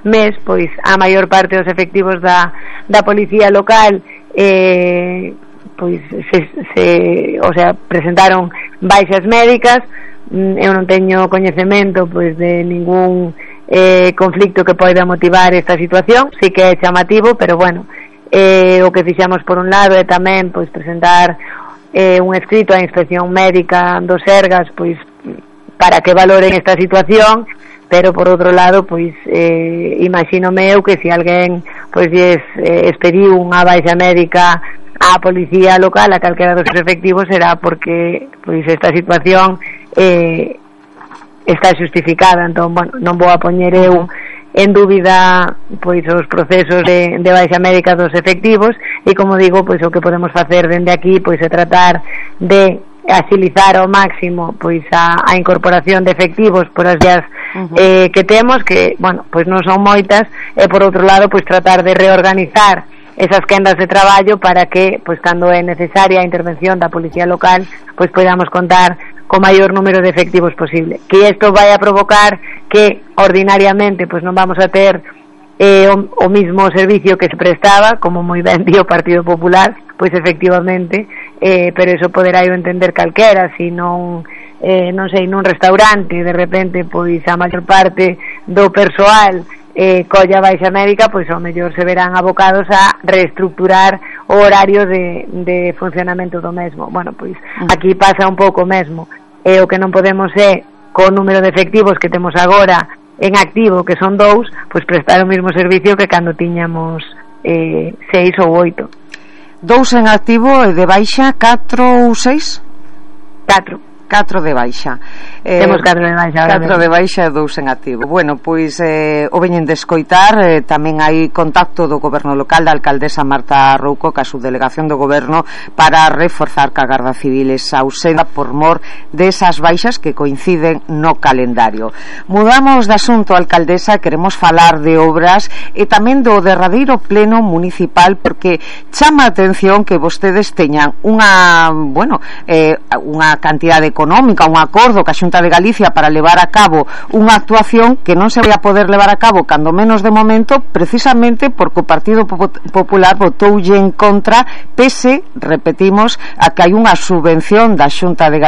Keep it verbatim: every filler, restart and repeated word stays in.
mes, pois a maior parte dos efectivos da, da policía local eh, pois se, se, o sea, presentaron baixas médicas. Eu non teño coñecemento pois de ningún eh, conflicto que poida motivar esta situación, sí que é chamativo, pero bueno, eh, o que fixamos por un lado é tamén pois presentar eh, un escrito á inspección médica do Sergas pois para que valoren esta situación, pero por outro lado pois eh, imagínome eu que se alguén pois lles eh, expediu unha baixa médica á policía local, a calquera dos efectivos, será porque pois esta situación eh, está xustificada. Entón, bueno, non vou a poñer eu en dúbida pois os procesos de, de baixa médica dos efectivos, e como digo, pois o que podemos facer dende aquí pois é tratar de agilizar ao máximo pois a, a incorporación de efectivos por as vías uh-huh. eh, que temos, que, bueno, pois non son moitas, e por outro lado pois tratar de reorganizar esas quendas de traballo para que, pois cando é necesaria a intervención da policía local, pois podamos contar co maior número de efectivos posible. Que isto vai a provocar que ordinariamente pois non vamos a ter eh, o, o mismo servicio que se prestaba, como moi ben dio o Partido Popular, pois efectivamente, eh, pero eso poderá eu entender calquera, si non eh, non sei, nun restaurante de repente pois a maior parte do persoal eh, colla baixa médica, pois ao mellor se verán abocados a reestructurar o horario de, de funcionamento do mesmo. Bueno, pois aquí pasa un pouco mesmo, e o que non podemos é, co número de efectivos que temos agora en activo, que son dous, pois prestar o mesmo servicio que cando tiñamos eh, seis ou oito. Dous en activo e de baixa catro ou seis? Catro. Catro de baixa. Eh, Temos catro de baixa. Catro de baixa e dous en activo. Bueno, pois eh, o veñen de escoitar, eh, tamén hai contacto do goberno local da alcaldesa Marta Rouco ca subdelegación do goberno para reforzar que a Garda Civil esa ausenda por mor desas baixas que coinciden no calendario. Mudamos de asunto, alcaldesa, queremos falar de obras e tamén do derradeiro pleno municipal, porque chama a atención que vostedes teñan unha, bueno, eh, unha cantidade económica, un acordo ca Xunta de Galicia para levar a cabo unha actuación que non se vai a poder levar a cabo cando menos de momento, precisamente porque o Partido Popular votoulle en contra, pese, repetimos, a que hai unha subvención da Xunta de Galicia